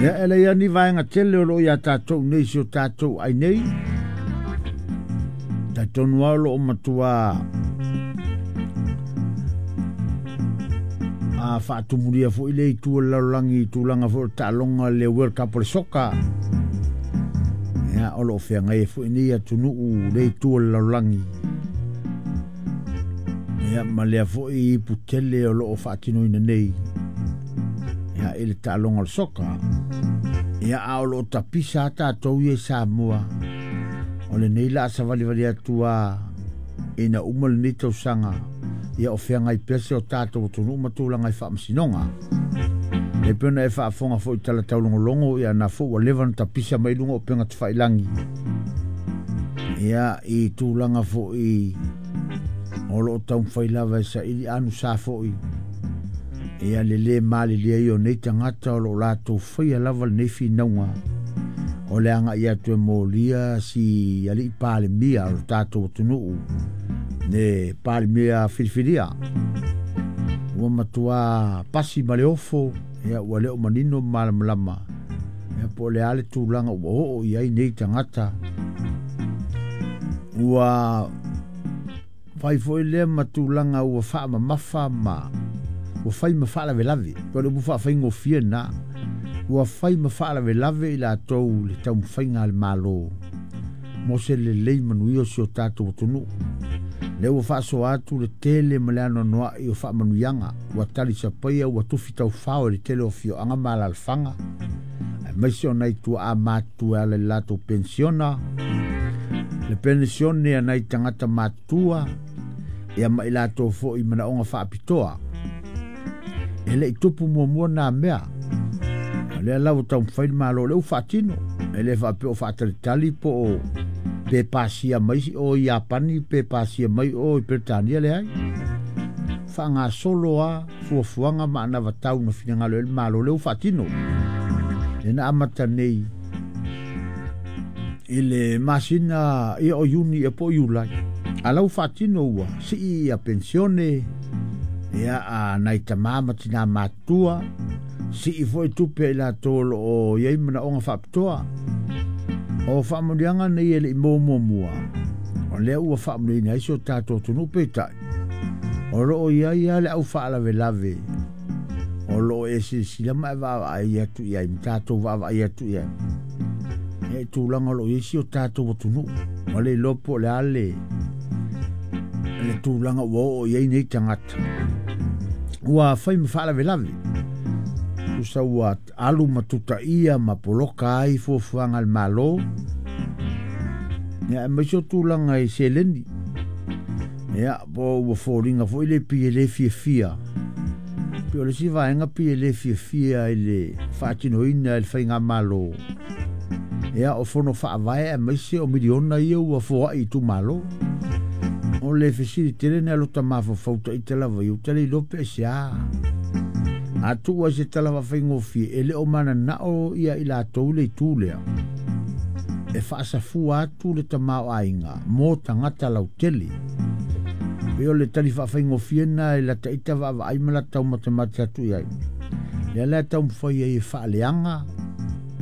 Ia, e leai lava ni vaega tele o lo o iā tatou nei i si o tatou ai nei. Talitonu lava o lo o matua a faatumulia foi le itu o le lalolagi i tulaga foi o le taaloga le World Cup o le soka. Ia, o lo o feagai ai foi nei atunuu le itu o le lalolagi. Ia, ma lea foi ipu tele o lo o faatinoina nei ia, i le taaloga o le soka. Ia, a o lo o tapisa lava tatou ia i Samoa, o lenei la a savalivali atu a ina uma lenei tausaga, ia o feagai pea si o tatou atunuu ma tulaga i faamasinoga. E pei ona e faafofoga foi i tala taulogologo, ia na foi ua leva ona tapisa mai luga o upega tafailagi. Ia, i tulaga foi o lo o taumafai lava e saili anusa foi ia le lē malilie ai o nei tagata o lo o latou faia lava lenei finauga o le agai atu e molia si alii Palemia o le tatou atunuu, le Palemia filifilia ua matua pasi ma le ofo. Ia, ua le o manino ma malamalama ia po o le a le tulaga ua oo i ai nei tagata. Ua fai foi lea ma tulaga ua faamamafa ma ua fai ma faalavelave, po o le upu faafaigofie lena, ua fai ma faalavelave i latou le taumafaiga a le Malo mo se lelei manuia o si o tatou atunuu. Lea ua faasoa atu le tele ma le anoanoai o faamanuiaga ua talisapaia, ua tufi taufao e le tele o afioaga ma alaalafaga, aemaise o nai tuaa matutua e ala i le latou penisiona, le penisione a nai tagata matutua, ia ma i latou foi i manaoga faapitoa. E le i tupu muamua nā mea. O lea la ua taumafai le Malo, o lea ua faatino. E le faapea o faatalitali po o pe pasia mai o i Iapani, pe pasia mai o i Peretania, leai. Faagasolo a fuafuaga ma anavatau na finagalo ai le Malo, lea ua faatino. Lea na amata nei i le masina ia o Iuni ia po o Iulai. A la ua faatino, ua sii ia pensione ia a nai tamā ma tinā matutua, sii foi tupe i latou o lo o i ai manaoga faapitoa. O faamanuiaga nei e le i maua muamua, o lea ua faamanuiaina ai si o tatou atunuu. Peitai, o lo o i ai lava le au faalavelave o lo o e silasila ma e vaavaai atu i ai, ma tatou vaavaai atu i ai ia i tulaga o lo o i ai si o tatou atunuu. Ua le iloa po o le a le tulaga ua oo i ai nei tagata ua fai ma faalavelave, tusa ua alu ma tutaia ma poloka ai fuafuaga a le Malo, ia, aemaise o tulaga i seleni. Ia, po ua foliga foi le pei e le fiafia, pei o le isi vaega pei e le fiafia i le faatinoina e le faigamalo ia o fono faavae, aemaise o miliona ia ua foai i itumalo. O le fesili tele na lota mafaufau taita lava ia, ou te le iloa pe aisea. A tuu ai se tala faafaigofie, e le o mananao ia i latou le itu lea e faasafua atu le tamaoaiga mo tagata lautele. Pei o le tali faafaigofie na e lata ita vaavaai ma lata taumatemate atu i ai. Lea la e taumafai ai e faaleaga